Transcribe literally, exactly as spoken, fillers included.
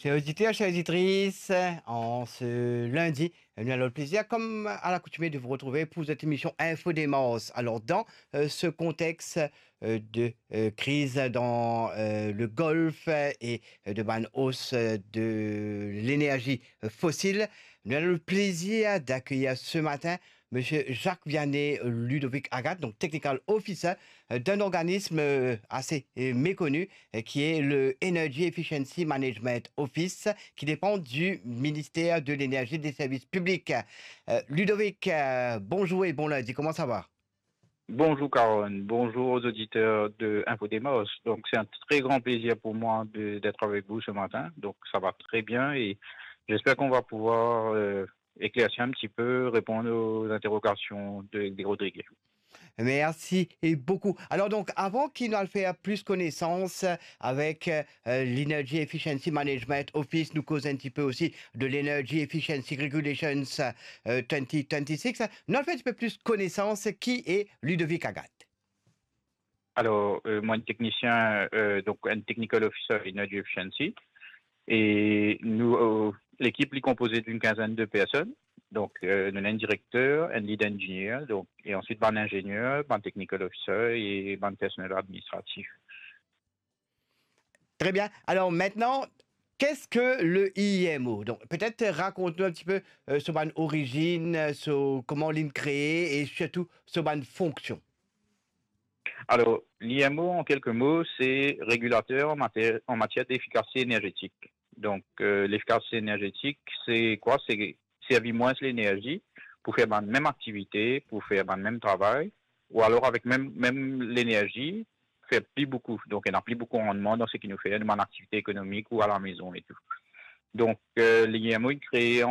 Chers auditeurs, chères auditrices, en ce lundi, nous avons le plaisir, comme à l'accoutumée, de vous retrouver pour cette émission Info Démarche. Alors, dans euh, ce contexte euh, de euh, crise dans euh, le Golfe et euh, de bann hausse euh, de l'énergie euh, fossile, nous avons le plaisir d'accueillir ce matin Monsieur Jacques Vianney Ludovic Agathe, donc Technical Officer euh, d'un organisme euh, assez euh, méconnu, euh, qui est le Energy Efficiency Management Office, qui dépend du ministère de l'Énergie et des Services Publics. Euh, Ludovic, euh, bonjour et bon lundi, comment ça va ? Bonjour Caron, bonjour aux auditeurs de Info Démarche. Donc c'est un très grand plaisir pour moi de- d'être avec vous ce matin. Donc ça va très bien et j'espère qu'on va pouvoir euh, éclaircir un petit peu, répondre aux interrogations de, de Rodrigue. Merci et beaucoup. Alors donc, avant ki nou al fer plis konesans avek euh, l'Energy Efficiency Management Office, nou koz un petit peu aussi de l'Energy Efficiency Regulations euh, twenty twenty-six. Nou al fer un petit peu plis konesans ki e Ludovic Agathe. Alors, euh, moi, un technicien, euh, donc un technical officer Energy Efficiency. Et nous, euh, l'équipe est composée d'une quinzaine de personnes. Donc, euh, nous avons un directeur, un lead engineer, donc, et ensuite un ingénieur, un technical officer et un personnel administratif. Très bien. Alors maintenant, qu'est-ce que le I M O ? Donc, peut-être raconte-nous un petit peu euh, sur son origine, euh, sur comment il est créé et surtout sur son fonction. Alors, l'I M O, en quelques mots, c'est régulateur en matière, en matière d'efficacité énergétique. Donc, euh, l'efficacité énergétique, c'est quoi ? C'est servir moins l'énergie pour faire la même activité, pour faire le même travail, ou alors avec même, même l'énergie, faire plus beaucoup. Donc, il n'y a plus beaucoup de rendement dans ce qui nous fait, dans mon activité économique ou à la maison et tout. Donc, euh, l'I M O est créé en